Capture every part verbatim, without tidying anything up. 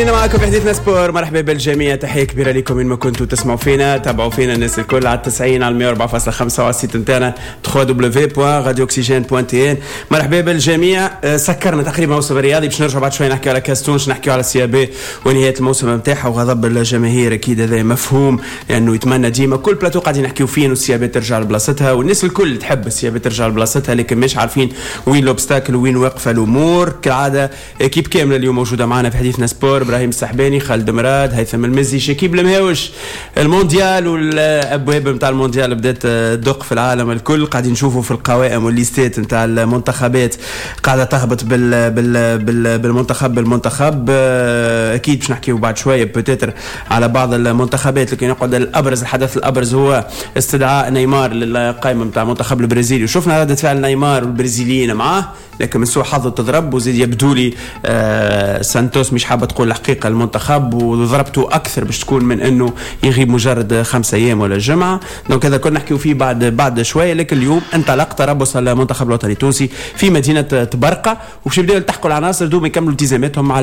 معكم في حديثنا sport. مرحبا بالجميع، تحية كبيرة لكم وين ما كنتوا تسمعوا فينا، تابعوا فينا الناس الكل على التسعين، على مية وأربعة فاصلة خمسة وعلى ال site نتاعنا دبليو دبليو دبليو دوت راديو اوكسجين دوت تي ان. مرحبا بالجميع. آه، سكرنا تقريبا موسم الرياضي، باش نرجعوا بعد شوي نحكيو على كاس تونس، نحكيو على ال CAB ونهاية الموسم نتاعها وغضب الجماهير. اكيد هذا مفهوم لانه يتمنى ديما، كل بلاتو قاعدين نحكيو فيه انه ال CAB ترجع لبلاصتها، والناس الكل تحب ال CAB ترجع لبلاصتها، لكن مش عارفين وين l'obstacle وين واقفة الامور. كالعادة équipe كاملة اليوم موجودة معنا في حديثنا sport: ابراهيم السحباني، خالد مراد، هيثم المزي، شكيب المهاوش. المونديال والابواب نتاع المونديال بدات تدق في العالم الكل، قاعدين نشوفوا في القوائم والليستات نتاع المنتخبات قاعدة تهبط بال بال بال بالمنتخب بالمنتخب. اكيد باش نحكيو بعد شوية peut-être على بعض المنتخبات، لكن يقعد الابرز، الحدث الابرز هو استدعاء نيمار للقائمه نتاع المنتخب البرازيلي، وشفنا رده فعل نيمار والبرازيليين معاه، لكن من سوء حظه تضرب. وزيد يبدو لي آه سانتوس مش حابة تقول الحقيقة المنتخب، وضربته اكثر باش تكون من انه يغيب مجرد خمسة ايام ولا جمعه. donc هذا كنا نحكيو فيه بعد بعد شويه، لكن اليوم انطلق تربص المنتخب الوطني التونسي في مدينة طبرقه، وباش يبداو يلتحقوا العناصر دوب يكملوا التزاماتهم مع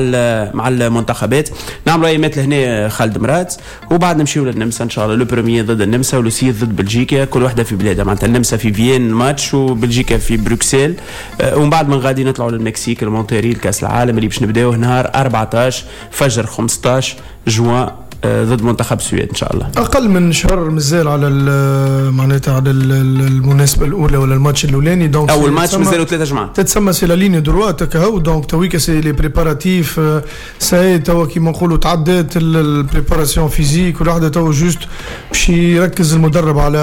مع المنتخبات. نعملوا ايامات لهنا خالد مراد، وبعد نمشيو للنمسا ان شاء الله، le premier ضد النمسا و le six ضد بلجيكا، كل واحدة في بلادها، معناتها النمسا في فيين ماتش وبلجيكا في بروكسل، آه، ومن بعد من غادي نطلعوا للمكسيك، المونتيري، الكاس العالم اللي باش نبداوه نهار أربعطاش فجر خمسطاش جوان آه، ضد منتخب السويد ان شاء الله. اقل من شهر مازال على معناتها على المناسبة الاولى ولا الماتش الاولاني. donc اول ماتش مازالوا ثلاثة جمعات. تتسمى c'est la ligne droite كهو. donc تويكا c'est les préparatifs، ça y est توا كيما نقولوا تعدات ال préparation physique والوحده، توا juste باش يركز المدرب على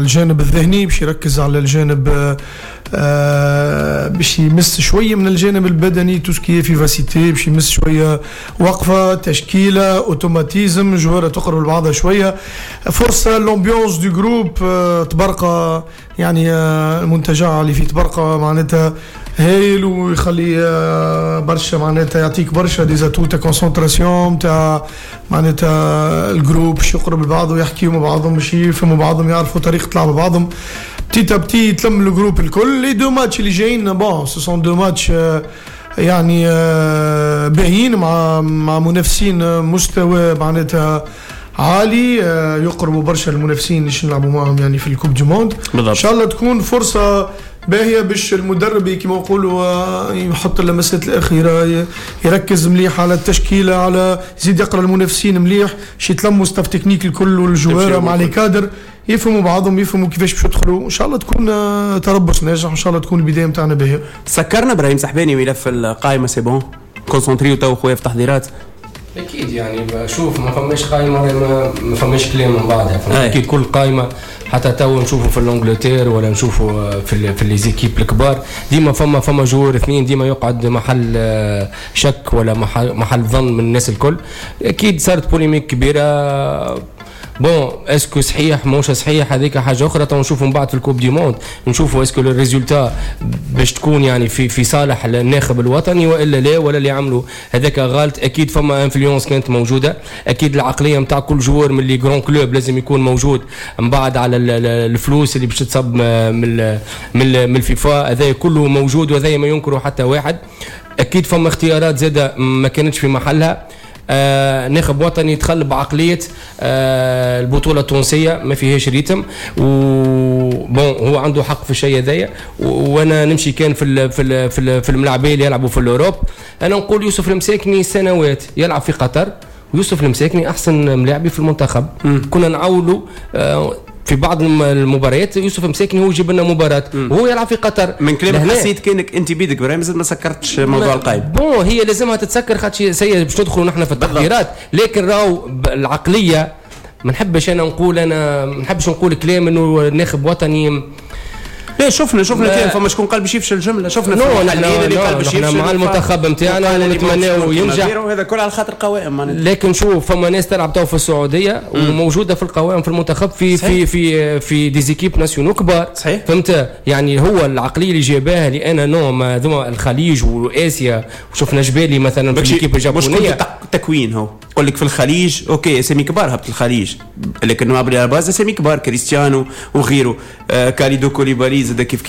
الجانب الذهني، باش يركز على الجانب آه باش يمس شوية من الجانب البدني، tout ce qui est vivacité، باش يمس شوية وقفه، تشكيله، automatisme، joueur تقرب لبعضها شويه، فرصة l'ambiance du groupe. طبرقه يعني آه، المنتجع اللي في طبرقه معناتها هايل ويخلي آه، برشا، معناتها يعطيك برشا des atouts تاع concentration تاع معناتها ال groupe، باش يقرب لبعض ويحكيوا مع بعضهم، باش يفهموا بعضهم، يعرفوا طريقه لعب بعضهم. petit à petit يتلم ال groupe الكل. les deux matchs اللي جايين، bon ce sont deux matchs يعني آه، باهيين مع مع منافسين مستوى معناتها عالي، آه، يقربوا برشا المنافسين اللي نلعبوا معهم يعني في ال coupe du monde. ان شاء الله تكون فرصة باهيه باش المدرب كما نقولوا آه، يحط اللمسات الاخيره، يركز مليح على التشكيله، على يزيد يقرا المنافسين مليح، باش يتلموا staff technique الكل والجواره مع les cadres، يفهموا بعضهم، يفهموا كيفاش باش يدخلوا. ان شاء الله تكون آه، تربص ناجح، ان شاء الله تكون البداية نتاعنا باهيه. سكرنا ابراهيم سحباني ملف القائمه، c'est bon، concentré تو خويا في تحضيرات. اكيد، يعني شوف، ما فماش قائمة ما, ما فماش كلام من بعدها. اكيد كل قائمه، حتى تو نشوفوا في l'Angleterre ولا نشوفوا في في les équipes الكبار، ديما فما فما joueur اثنين ديما يقعد محل آه، شك ولا محل, محل ظن من الناس الكل. اكيد صارت polémique كبيره. bon، est-ce que صحيح ماهوش صحيح، هذيك حاجة اخرى. تو نشوفوا من بعد في ال coupe du monde، نشوفوا est-ce que le résultat باش تكون يعني في في صالح الناخب الوطني والا لا، ولا اللي عملوا هذاك غلط. اكيد فما influence كانت موجوده، اكيد العقلية نتاع كل joueur من les grands clubs لازم يكون موجود من بعد على الفلوس اللي باش تصب من من من الفيفا. هذا كله موجود وهذا ما ينكره حتى واحد. اكيد فما اختيارات زاده ما كانتش في محلها. آه ناخب وطني دخل بعقلية آه البطولة التونسية ما فيهاش rythme، و bon هو عنده حق في الشيء هذايا، وانا نمشي كان في ال في ال في, ال في الملاعبيه اللي يلعبوا في l'Europe. انا نقول يوسف المساكني سنوات يلعب في قطر، ويوسف المساكني احسن ملاعبي في المنتخب. م. كنا نعولوا آه في بعض المباريات يوسف مساكني هو يجيب لنا مباراة وهو يلعب في قطر. من كلامك حسيت كانك انت بيدك ابراهيم مازال ما سكرتش موضوع القائمه. bon، هي لازمها تتسكر خاطر ça y est باش ندخلوا نحن في التحضيرات، لكن راهو العقلية ما نحبش انا نقول، انا ما نحبش نقول كلام انه ناخب وطني. لا، شفنا شفنا كان فما شكون قال باش يفشل الجمله، شفنا. non، نحن اللي قال باش يفشل مع المنتخب نتاعنا ونتمناو ينجح. وهذا كل على خاطر قوائم. لكن شوف، فما ناس تلعب تو في السعودية وموجودة في القوائم في المنتخب في صحيح. في في في des équipes nationales كبار. صحيح. فهمت؟ يعني هو العقلية اللي جابها لي انا non، ما ذوما الخليج واسيا، وشفنا جبالي مثلا في l'équipe الجابونيه. تكوين هو يقول لك في الخليج، OK، اسامي كبار هبط الخليج، لكن على base اسامي كبار، كريستيانو وغيره، آه كاليدو كوليبالي زاد كيف.